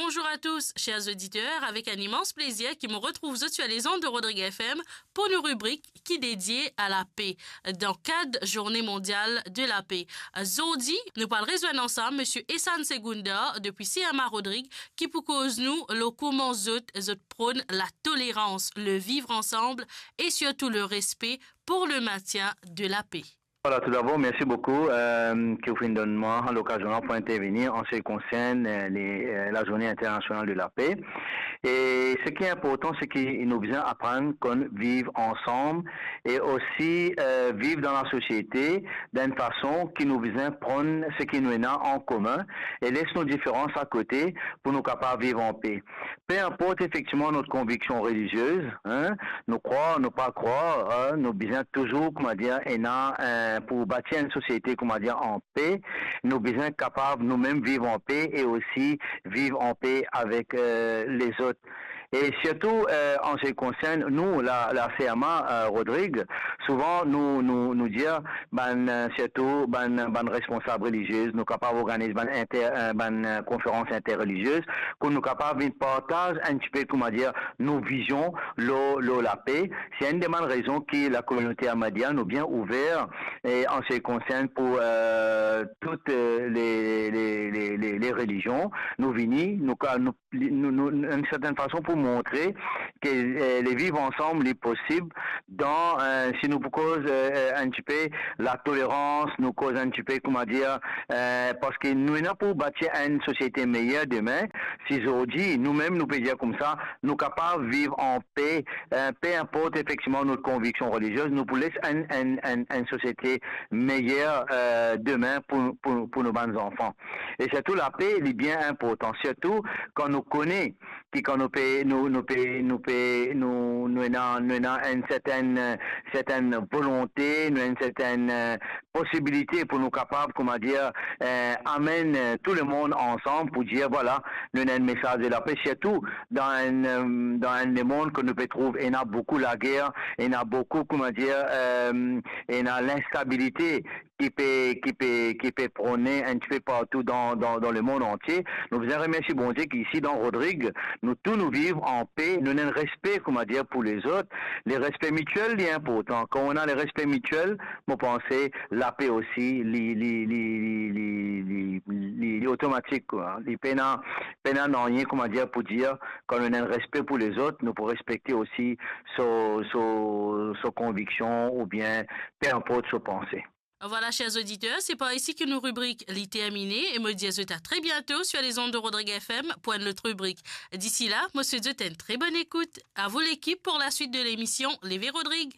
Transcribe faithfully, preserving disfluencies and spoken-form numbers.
Bonjour à tous, chers auditeurs, avec un immense plaisir ki mo retrouv zot sur les ondes de Rodrigue F M pour nos rubriques qui dédiées à la paix, dans le cadre Journée mondiale de la paix. Zordi, nou pou al rezwenn ansam Monsieur Essan Segunda depuis C M A Rodrigue, ki pou koz nou lor kouma zot, zot prône la tolérance, le vivre ensemble et surtout le respect pour le maintien de la paix. Voilà, tout d'abord, merci beaucoup, euh, ki ou finn donn mwa lokazion la pou intervenir en ce qui concerne, euh, les, euh, la Journée internationale de la paix. E seki inportan, seki nou bizin aprann konn viv ansam e osi, euh, viv dan lasosiete dan enn fason ki nou bizin pran seki nou ena an komin e les nou diferans akote pou nou kapav viv an pe. Pe inport efektivman nou konviksion reliziez, hein, nou krwar, nou pa krwar, hein, nou bizin touzour, kouma dir, ena, euh, pou batir enn sosiete, kouma dir, an pe, nou bizin kapav nou mem viv an pe e osi viv an pe avek, euh, lezot. E sirtou, euh, an se ki konsern nou, la, la C M A, euh, Rodrigue, souvan nou, nou, nou dir bann, euh, sirtou bann, bann responsab reliziez, nou kapav organiz bann inter-, euh, bann, euh, konferans interreliziez, pou nou kapav vinn partaz enn tipe, kouma dir, nou vizion lor, lor lape. Se enn de bann rezon ki lakominote Ahmadiyya nou bien ouver, e an se ki konsern pou, euh, tout, euh, le, le, le, le, le relizion, nou vini, nou ka, nou li, nou, nou, enn sertenn fason pou montre ke, euh, le viv ansam li posib dan, euh, si nou pou koz, euh, euh, enn tipe latolerans, nou koz enn tipe, kouma dir, euh, parski nou ena pou batir enn sosiete meyer demin, si zordi nou mem nou pe dir koumsa, nou kapav viv an pe, euh, pe inport efektivman nou konviksion reliziez, nou pou les enn, enn, enn, enn sosiete meyer, euh, demin pou, pou, pou nou bann zanfan. E sirtou lape, li bien inportan, sirtou kan nou kone ki kan nou pe, nou, nou pe, nou pe, nou, nou ena, nou ena enn sertenn, sertenn volonte, nou ena enn sertenn, euh, posibilite pou nou kapav, kouma dir, euh, amenn, euh, tou lemonn ansam pou dir, vwala, nou ena enn mesaz de lape, sirtou dan enn, euh, dan enn lemond ke nou pe trouv ena boukou lager, ena boukou, kouma dir, euh, ena linstabilite ki pe, ki pe, ki pe prone enn tipe partou dan, dan, dan lemond antie. Nou bizin remersie Bondie ki isi dan Rodrigue, nou tou nou viv an pe, nou ena enn respe, kouma dir, pou lezot. Le respe mitiel, li inportan. Kan ou ena le respe mitiel, mo panse lape osi, li, li, li otomatik, kwa. Li pena, pena nanye, kouma dir, pou dir, kan nou ena enn respe pou lezot, nou pou respekte osi so, so, so konviksion oubien pe inport so panse. Voilà, chers auditeurs, c'est par ici que nos rubriques li termine et me dis à très bientôt sur les ondes de Rodrigue F M pour une autre rubrique. D'ici là, mo swet zot une très bonne écoute. À vous l'équipe pour la suite de l'émission Leve Rodrigue.